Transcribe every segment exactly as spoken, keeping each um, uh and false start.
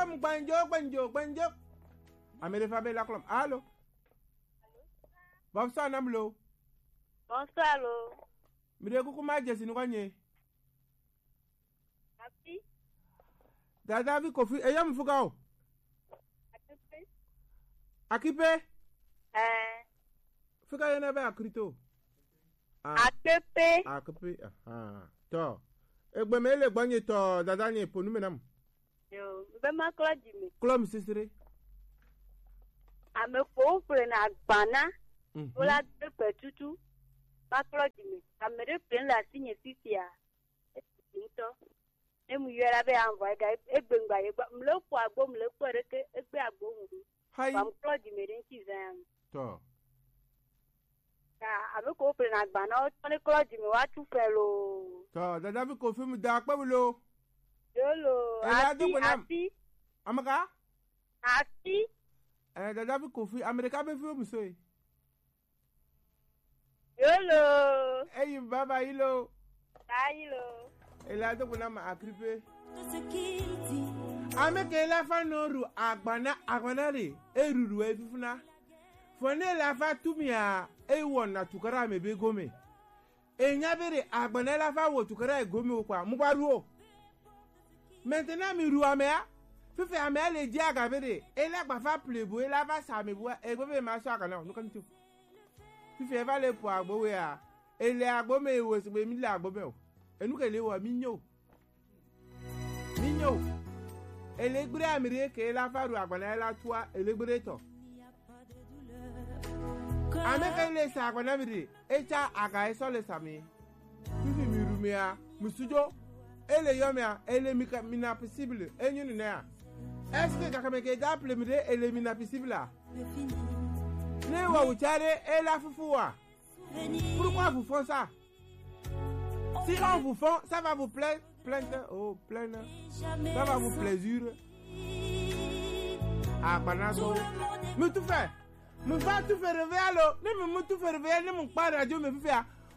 Gbanjo, gbanjo, gbanjo. Ame ɖe va be la klɔm. Alo. Bonsoir, nam lo. Bonsoir lo. Mi ɖe kuku ma dze si nu kɔ nye. Afi. Dada vi Kofi, eya mu fuga o. Afi. Akipe. Eh. Fika yena be akrito. Ah. Akpepe. Akpepe. Aha. Tɔ. Egbe me le gbɔnye tɔ dada nye po nume nam. Yo, be ma klɔ dzi me. Klɔ mi sesere. Ame ko ƒle na gbana. Mhm. Wola de pe tutu. Ma klɔ dzi me. Ame ɖe ƒle le asi nye fifia. Ŋutɔ. Ne mu yɔe la be anvɔ ega egbe ŋgba ye gba. Mle ƒo agbo, mle kpɔ ɖeke, egbe agbo ŋu. Hayi. Wa mklɔ dzi me ɖe ŋuti zã ya me. Tɔ. Ta ame ko ƒle na gba na wo tsɔ ne klɔ dzi me wa tu fɛ lo. Tɔ, dada vi Kofi mu da akpe lo. Yolo. Ela do gbe nam. Afi. Amaka? Afi. Eh, dada vi Kofi, Amerika be fi o mu so e. Yolo. Eyi baba yi lo. Ba yi lo. Ela do gbe nam akripe. Ame ke la fa no ru agbana, agbana re. E ruru e fifuna. Fo ne la fa tumia, e wɔ na tukara me be gome. E nya be ɖe agbana la fa wɔ tukara e gome o kwa. Mu kwa ru o. Maintenant mi ru amea. Fifi amea le dzi aga be ɖe. E la gba fa ple bo, e la va sa me bo, e gbe be ma so aga na. Nu kan tu. Fifi e va le po agbo we a. E le agbo me wo se be mi le agbo me o. E nu ke le wo mi nyo. Mi nyo. Ele gbre amire ke la fa ru agbana la tua, ele gbre tɔ. Ame ke le sa agbana mire, e tsa aga e sɔ le sa mi. Fifi mi ru mea, mi sujo. Ele yɔ mea, ele mi ka, mi na possible, e nyu ne ya. Est-ce que gakame ke da ple mire, ele mi na possible a? Ne wa wuchare, e la fufu wa. Pourquoi vous font ça? Si on vous font, ça va vous plaire, plainte, oh, plainte. Ça va vous plaisir. Ah, banana. Mais tout fait. Me va tout faire réveiller, allô. Ne me, me tout faire réveiller, ne mon pas radio, me fait.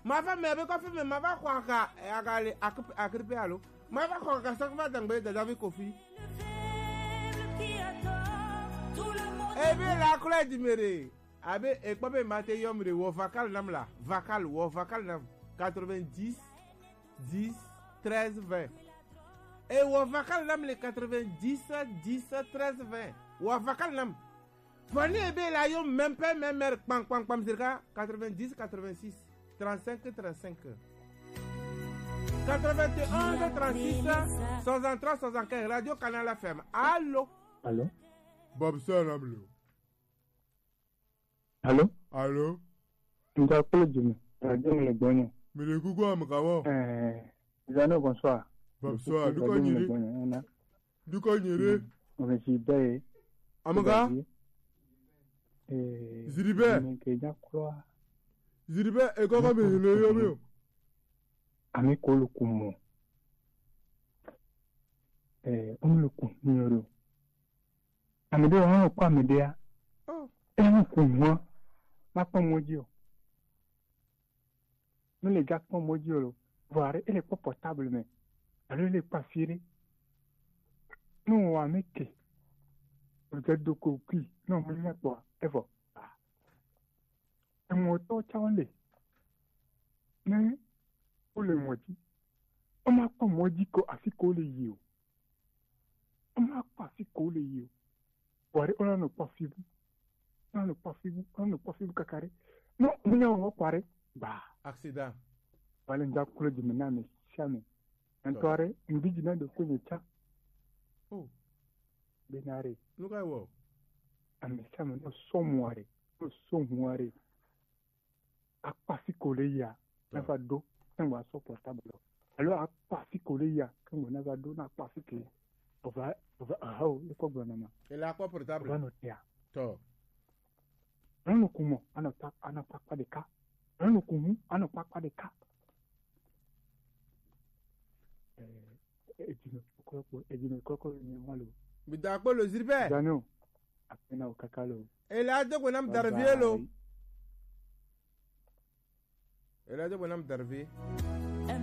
Ma femme, me avec quoi faire, mais ma va croire qu'à, à, à, à, à, allô. Ma va croire qu'à ça, va dans le David Kofi. Eh bien, la couleur du méré. Abe ekpɔ be ma te yɔm ɖe, wɔ vakal nam la. Vakal, wɔ vakal nam. Quatre-vingt-dix, dix, treize, vingt. E wɔ vakal nam le quatre-vingt-dix, dix, treize, vingt. Wɔ vakal nam. Vɔ ne ebe la yɔ même pas, même heure, kpam, kpam, kpam, zirika, quatre-vingt-dix, quatre-vingt-six, trente-cinq, trente-cinq. Quatre-vingt-onze, trente-six, soixante-trois, soixante-quinze, Radio Canal F M. Allô? Allô? Bob Salam lo. Allô? Allô? Nda kpolo djumi. Radio mi le gbɔnyo. Mi le kuku am kamo. Eh, Zano, bonsoir. Bonsoir. Dukɔ nyi ɖe. Dukɔ nyi ɖe. Ame si be. Amega. Eh, Ziribe. Ame ke nya kura. Ziribe, e kɔkɔ mi le yo mi o. Ame ko le ku mo. Eh, o le ku mi o. Ame ɖe hã kpɔ ame ɖea. Oh. Enu ƒo nua, makpɔ mɔ dzi o. Mele gakpɔ mɔ dzi o lo. Vɔ aɖe, ele kpɔ portable me. Alo ele kpɔ afi ɖe. Ne wɔ ame ke. Wòdze do kokui. Ne wòmenya kpɔa, evɔ. Emɔtɔwo tsawo le. Ne wole mɔ dzi. Womakpɔ mɔ dzi ko afi ko wole yi o. Womakpɔ afi ko wole yi o. Kpɔ ɖe, wonanɔ kpɔ afi bu. Wonanɔ kpɔ afi bu. Wonanɔ kpɔ afi bu kaka ɖe. No, munya wɔ kpɔ ɖe. Gba. Accident. Wale ŋdza klo dzi me na ame sia ame. Ŋutɔ ɖe, ŋdi dzi na ɖe ko nye tsa. Oh. Bena ɖe. Nu ka wɔ? Ame sia ame no sɔ mua ɖe. No sɔ hua ɖe. Akpa fi ko le ya, na va ɖo, ne wa sɔ portable lo. Alo akpa fi ko le ya, ke mo na va ɖo, na akpa fi ke. Ova, ova, aha, o, e kɔ gblɔ na ma. Ele akpɔ portable. Ova nɔ tea. Tɔ. Enu kumɔ, anɔ ta, anɔ kpakpa ɖeka. Enu kumu, anɔ kpakpa ɖeka. Eh, edzi me kɔkɔ, edzi me kɔkɔ ni wa lo. Mi da akpɔ lo Ziribe. Daniel, akpe na wo kaka lo. Ele ado gbe nam Darvie lo. Ele ado gbe nam Darvie.